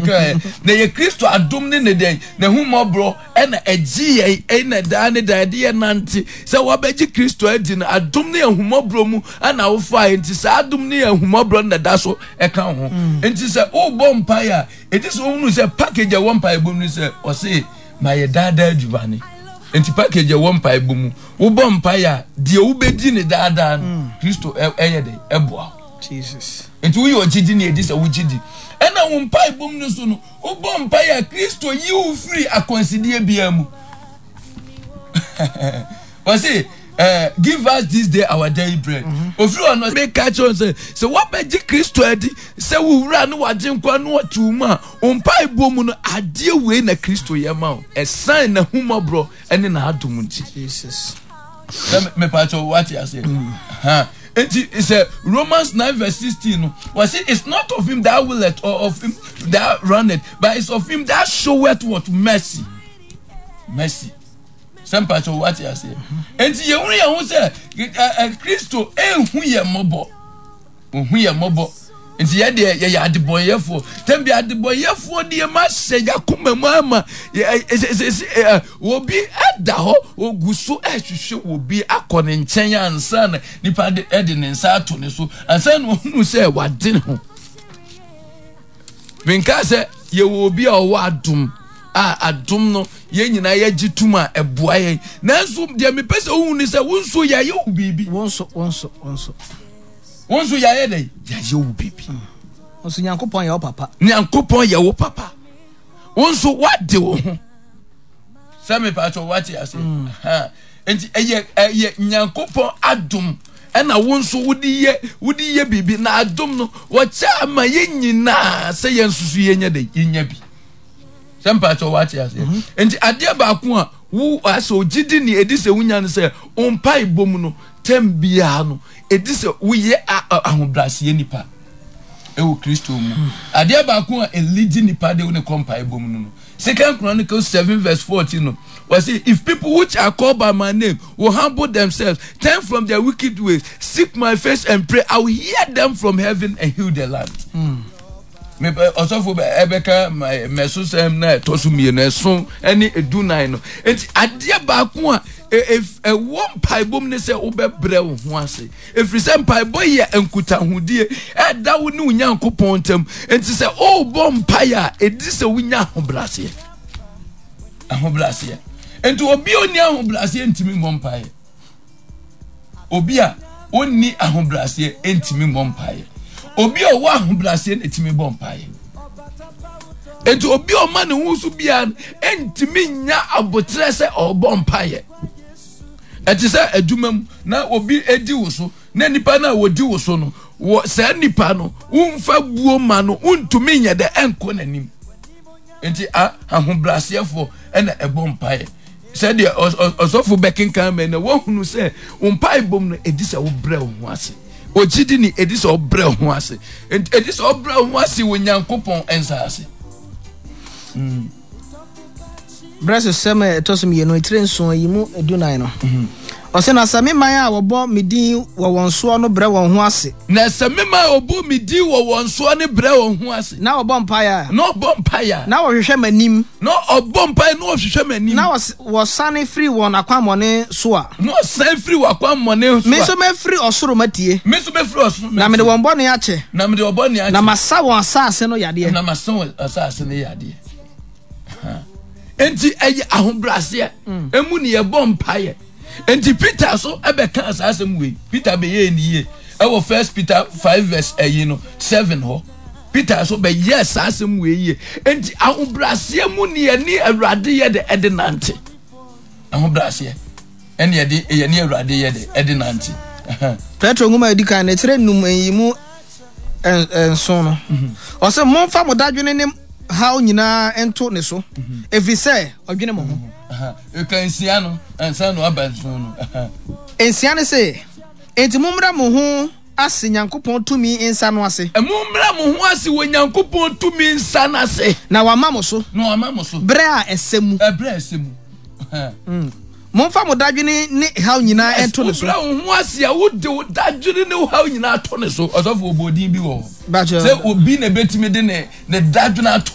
mekaeɛ. Na ɛyɛ Kristo adom ne ne dɛn? N'ahummɔborɔ ɛna ɛgye yɛn ɛna daa ne daa ɛde yɛn nante. Sɛ woabɛgye Kristo adi no, adom ne ahummɔborɔ mu ɛna wofaeɛ. Nti saa adom ne ahummɔborɔ no na ɛda so ɛka wo ho. Nti sɛ wobɔ mpaeɛ a, ɛdi sɛ wohunu sɛ package a ɛwɔ mpaebɔ mu ne sɛ ɔse ma yɛ daa daa adwumane. Nti package a ɛwɔ mpaebɔ mu, wobɔ mpaeɛ a, deɛ wobɛdi ne daa daa no, Kristo ɛyɛ dɛn? Ɛboa wo. Jesus. Nti woyɛ ɔgyedi ne ɛdi sɛ wogye di. Ɛna wo mpaebɔ mu no so no, wobɔ mpaeɛ a Kristo yi wo firi akwansideɛ biara mu. Wɔse, give us this day our daily bread. Ofiri hɔ no, meka kyerɛ wɔn sɛ, sɛ woabɛgye Kristo adi sɛ wo wura ne w'agyenkwa ne ɔte wo mu a, wo mpaebɔ mu no, adeɛ wei na Kristo yɛ ma wo. Ɛsan n'ahummɔborɔ ne n'adom nti. Jesus. Sɛ mepatɔ wate aseɛ. Ha. Nti sɛ Romans 9 verse 16 no, wɔse it's not of him that willeth or of him that runneth, but it's of him that showeth what mercy. Mercy. Sɛ mpatɔ wate aseɛ. Nti yɛhunu yɛn ho sɛ Kristo ehu yɛn mmɔbɔ. Ohu yɛn mmɔbɔ. Nti yɛ deɛ yɛyɛ adebɔnyɛfoɔ. Tɛm bi adebɔnyɛfoɔ deɛ ma hyɛ yakoma mu ama obi da hɔ ogu so ɛhwehwɛ obi akɔ ne nkyɛn ansa na nipa de ɛde ne nsa ato ne so ansa na ohunu sɛ wade ne ho. Menka sɛ yɛwɔ obi a ɔwɔ adom a adom no yɛn nyinaa yɛgye tom a ɛboa yɛn. Nanso deɛ mepɛ sɛ wohu ne sɛ wo nso yɛayɛ wo biribi. Wo nso, wo nso, wo nso. Wo nso yɛayɛ dɛn? Yɛayɛ wo biribi. Wo nso Nyankopɔn yɛ wo papa. Nyankopɔn yɛ wo papa. Wo nso woade wo ho. Sɛ mepatwɔ woate ase. Nti ɛyɛ ɛyɛ Nyankopɔn adom ɛna wo nso wode yɛ wode yɛ biribi na adom no wɔkyɛ ama yɛn nyinaa sɛ yɛn nso so yɛnya dɛn yɛnya bi. Sɛ mpakyɛ wate aseɛ. Nti adeɛ baako a wo asɛ ogyidi ne ɛdi sɛ wonya no sɛ wo mpaebɔ mu no tɛm biara no ɛdi sɛ woyɛ ahobrɛaseɛ nipa ɛwɔ Kristo mu. Adeɛ baako a ɛlidi nipa de wo ne kɔ mpaebɔ mu no no. Second Chronicles 7 verse 14 no, wɔse if people which are called by my name will humble themselves, turn from their wicked ways, seek my face and pray, I will hear them from heaven and heal the land. Mepɛ ɔsɔfo bɛ ɛbɛka mɛsosɛm na ɛtɔ so mmienu ɛso ɛne edunan no. Nti adeɛ baako a ɛwɔ mpaebɔ mu ne sɛ wobɛbrɛ wo ho ase. Ɛfiri sɛ mpaebɔ yɛ nkutahodie ɛda wo ne wo Nyankopɔn ntam. Nti sɛ wobɔ mpaeɛ a ɛdi sɛ wonya ahobrɛaseɛ. Ahobrɛaseɛ. Nti obi a ɔnni ahobrɛaseɛ ntumi mmɔ mpaeɛ. Obi a ɔnni ahobrɛaseɛ ntumi mmɔ mpaeɛ. Obi a ɔwɔ ahobrɛaseɛ na ɛtumi bɔ mpaeɛ. Enti obi a ɔma ne ho so biara no ntumi nya aboterɛ sɛ ɔrebɔ mpaeɛ. Ɛte sɛ adwuma mu na obi di wo so na nipa no a wɔdi wo so no wɔ saa nipa no womfa buo ma no wontumi nyɛ dɛ ɛnkɔ n'anim. Nti ahobrɛaseɛfoɔ na ɛbɔ mpaeɛ. Sɛdeɛ ɔsɔfo bɛkenkan mɛ na woahunu sɛ wo mpaebɔ mu no ɛdi sɛ wobrɛ wo ho ase. Ogyidi ni ɛdi sɛ ɔbrɛ wo ho ase. Ɛdi sɛ ɔbrɛ wo ho ase wɔ Nyankopɔn nsa ase. Berɛ sesɛm a ɛtɔ so mmienu, etire nson, yi mu 14 no. Ɔse, na sɛ me man a wɔbɔ me din wɔ wɔn soɔ no brɛ wɔn ho ase. Na sɛ me man a wɔbɔ me din wɔ wɔn soɔ no brɛ wɔn ho ase. Na wɔbɔ mpaeɛ a. Na wɔbɔ mpaeɛ a. Na wɔhwehwɛ m'anim. Na wɔbɔ mpaeɛ na wɔhwehwɛ m'anim. Na wɔsane firi wɔn akwammɔne so a. Na wɔsane firi wɔn akwammɔne so a. Me nso mɛfiri ɔsoro matie. Me nso mɛfiri ɔsoro matie. Na mede wɔn bɔne akyɛ. Na mede wɔn bɔne akyɛ. Na masa wɔn asase no yadeɛ. Na masa wɔn asase no yadeɛ. Enti ɛyɛ ahobrɛaseɛ emu ne yɛbɔ mpaeɛ. Enti Peter so ɛbɛka saa asɛm wei. Peter bɛyɛɛ ne yie ɛwɔ First Peter 5 verse ɛyi no 7 hɔ. Peter so bɛyɛɛ saa asɛm wei yie. Enti ahobrɛaseɛ mu ne yɛne Awurade yɛ de ɛde nante. Ahobrɛaseɛ ɛne yɛde yɛne Awurade yɛ de ɛde nante. Petro nwoma a ɛdi kan no ɛkyerɛ num nyimu nson no. Ɔsɛ momfa mo dadwene ne haw nyinaa nto ne so, ɛfiri sɛ ɔdwene mo ho. Ɛka nsia no ansa na waba nson no. Nsia no se, enti mommrɛ mo ho ase Nyankopɔn tumi nsa no ase. Mommrɛ mo ho ase wɔ Nyankopɔn tumi nsa no ase. Na wama mo so. Na wama mo so. Berɛ a ɛsɛ mu. Ɛberɛ a ɛsɛ mu. Momfa mo dadwene ne haw nyinaa nto ne so. Wobrɛ wo ho ase a, wode wo dadwene ne wo haw nyinaa to ne so. Ɔsɔfo, ɔbɔ din bi wɔ hɔ. Sɛ obi na ebetumi de ne ne dadwene ato.